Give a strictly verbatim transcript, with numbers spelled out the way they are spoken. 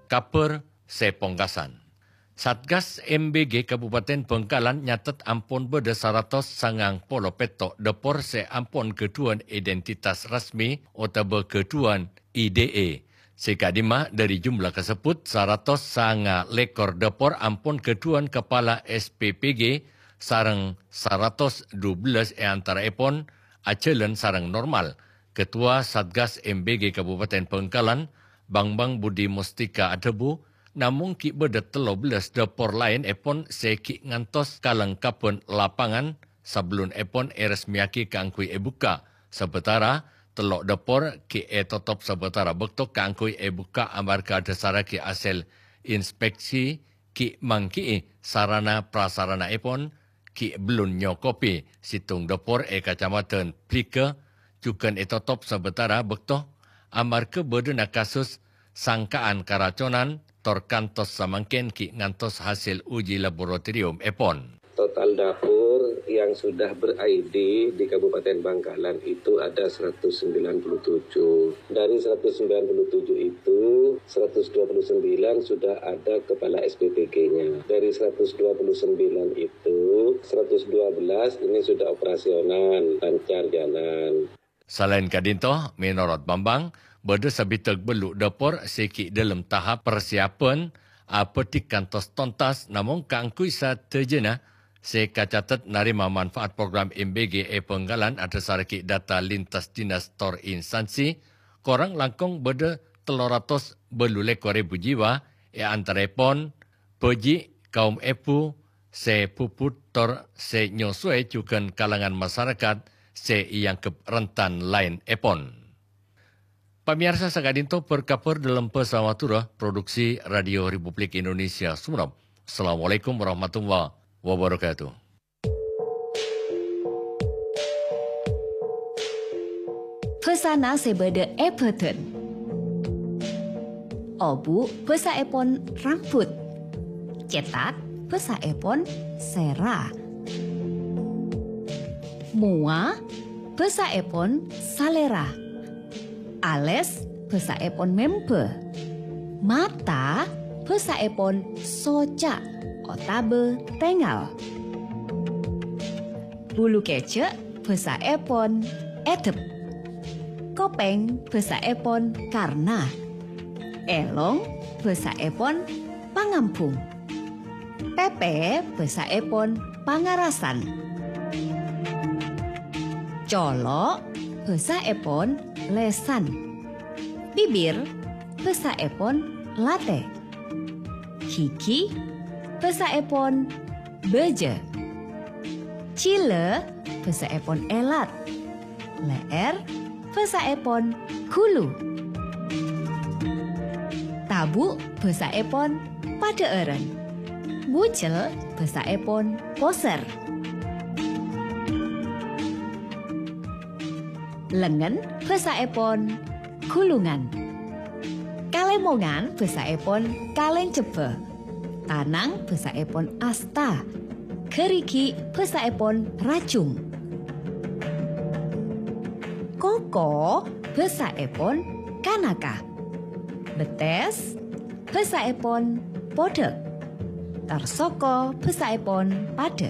Kabhâr sè pongkasan. Satgas M B G Kabupaten Bangkalan nyatet ampon bâdâ saratos sangang polo pètto' dâpor sè ampon ghâdhuwân identitas resmi otabâ ghâdhuwân I D E. Sè ka'dimma dhâri jumlah kasebbhut, saratos sanga lèkor dâpor ampon ghâdhuwân kapala S P P G sareng saratos dubellâs è antaraèpon ajhâlân sareng normal. Ketua Satgas M B G Kabupaten Bangkalan, Bambang Budi Mustika adhâbu, namong ghi' bâdâ tello bellâs dâpor laènèpon sè ghi' ngantos kalengkabhân lapangan sabellunèpon èresmèyaghi kaangghuy èbukka'. Sabâtara tello' dâpor ghi' ètotop sabâtara bâkto kaangghuy èbukka' amarghâ adhâsarraghi hasèl inspeksi ghi' mangghi'i sarana prasaranaèpon ghi' bellun nyokobi. Sèttong dâpor è Kacamadhân Bliga jhughân ètotop sabâtara bâkto amarghâ bâdâna kasus sangka'an karaconan, tor kantos samangkèn ghi' ngantos hasèl uji laboratoriumèpon. Total dapur yang sudah ber-I D di Kabupaten Bangkalan itu ada seratus sembilan puluh tujuh. Dari seratus sembilan puluh tujuh itu, seratus dua puluh sembilan sudah ada kepala S P P G-nya. Dari seratus dua puluh sembilan itu, seratus dua belas ini sudah operasional, lancar jalan. Salaèn ka'dinto, mènorot Bambang, bâdâ sabidhâk bâllu' dâpor sè ghi' dhâlem tahap parsiapan, abhâdhi kantos tontas, namong kaangghuy sadhâjâna sè kacatet narèma manfaat program M B G è Bangkalan adhâsarraghi data lintas dinas tor instansi, korang langkong bâdâ tello ratos bâllu lèkor èbu jiwa, è antaraèpon bhâji', kaum èbhu sè bhubhut tor sè nyosowè jhughân kalangan masarakat sè èangghep rentan laènèpon. Pamèyarsa, saka'dinto bâr-kabhâr dhâlem bhâsa Madhurâ, produksi Radio Republik Indonesia Sumenep. Assalamualaikum warahmatullahi wabarakatuh. Bhâsana sè bâdâ è bhâdhân. Obu' bhâsaèpon rambut. Cètak bhâsaèpon sèra. Mowa bhâsaèpon salèra. Alès bhâsaèpon mèmbâ. Mata bhâsaèpon soca' otabâ tèngal. Bulu kèjhâ' bhâsaèpon èdhep. Kopèng bhâsaèpon karna. Èlong bhâsaèpon pangambhung. Pèpè bhâsaèpon pangarasan. Colo' bhâsaèpon lèsan. Bibir bhâsaèpon latè. Ghighi bhâsaèpon bâjâ. Jhilâ bhâsaèpon èlat. Lè'èr bhâsaèpon ghulu. Tabu' bhâsaèpon padhâ'ârân. Bujel bhâsaèpon posèr. Lengngen bhâsaèpon ghulungan. Kalèmongan bhâsaèpon kalèncebbhâ. Tanang bhâsaèpon asta. Ghârighi' bhâsaèpon rajung. Koko bhâsaèpon kanaka. Bettès bhâsaèpon podhâk. Tarsoko bhâsaèpon padhâ.